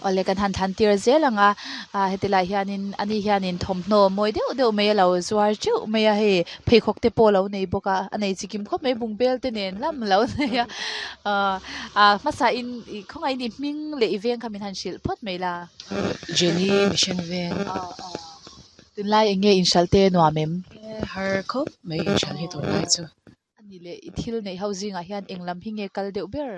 Awle kan han thlan tir zel ang a, ah heti lai hianin ani hianin thawmhnaw mawi deuh deuh mai a lo zuar teuh mai a hei pheikhawk te pawh a lo nei bawk a a nei chikim khawp mai bungbel te nen lam a lo nei a ah ah hmasa in ih khawngaih in i hming leh i veng kha min han hrilh phawt mai la. Jenny Mission veng. Tunlai eng nge inhralh te nuam em? Har khawp mai inhralh hi tunlai chu. A ni leh i thil neih ho zingah hian eng lam hi nge kal deuh ber?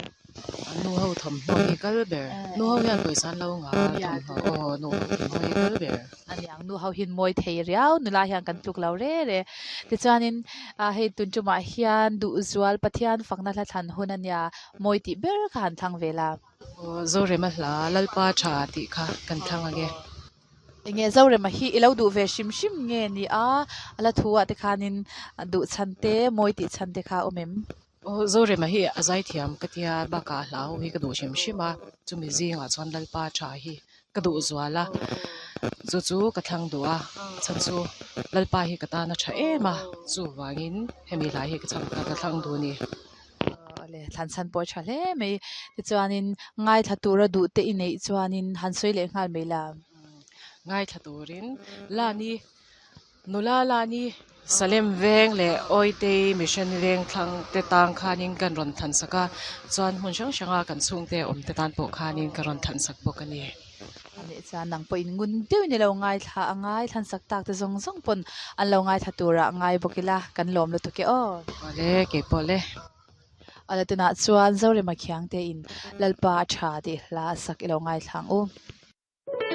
Nu ho thawmhnaw hi kal ber. Nu ho hian pawisa an lo ngah a, thawmhnaw aw nu ho thawmhnaw hi kal ber. A niang nu ho hian mawi thei riau nula hian kan tluk lo re re. Tichuanin hei tun tumah hian Duhzual Pathian fakna hla thlan hun a nia, mawi tih ber kha han thlang ve la. Aw Zorema hla Lalpa tha tih kha kan thlang ange. Enge Zorema hi i lo duh ve hrim hrim nge ni a, a la thu ah te khanin duh chhan te, mawi tih chhan te kha a awm em? Aw Zorema hi a zaithiam ka tia bakah a hlau hi ka duh hrim hrim a, chumi zingah chuan Lalpa tha hi ka duh zual a, chu chu ka thlang duh a, chhan chu Lalpa hi ka tan a tha em a, chuvangin hemi hlai hi ka chhang ka thlang duh a ni. Awle thlan chhan pawh a tha hle mai. Tichuanin ngaithla tura duh te i neih chuanin han sawi leh nghal mai la. Ngaithla turin Lani, nula Lani Salem veng leh Awitei Mission veng thlang te tang khanin kan rawn thlan sak a, chuan hmun hrang hranga kan chhungte awm te tan pawh khanin ka rawn thlan sak bawk a ni. A nih chuan nang pawhin ngun deuhin i lo ngaithla a ngai thlan sak tak te zawng zawng pawn an lo ngaithla turah ngai bawk ila kan lawm lutuk e aw. Awle keipawh le. Awle tunah chuan Zorema Khiangte in Lalpa a tha tih hla a sak i lo ngaithla ang u.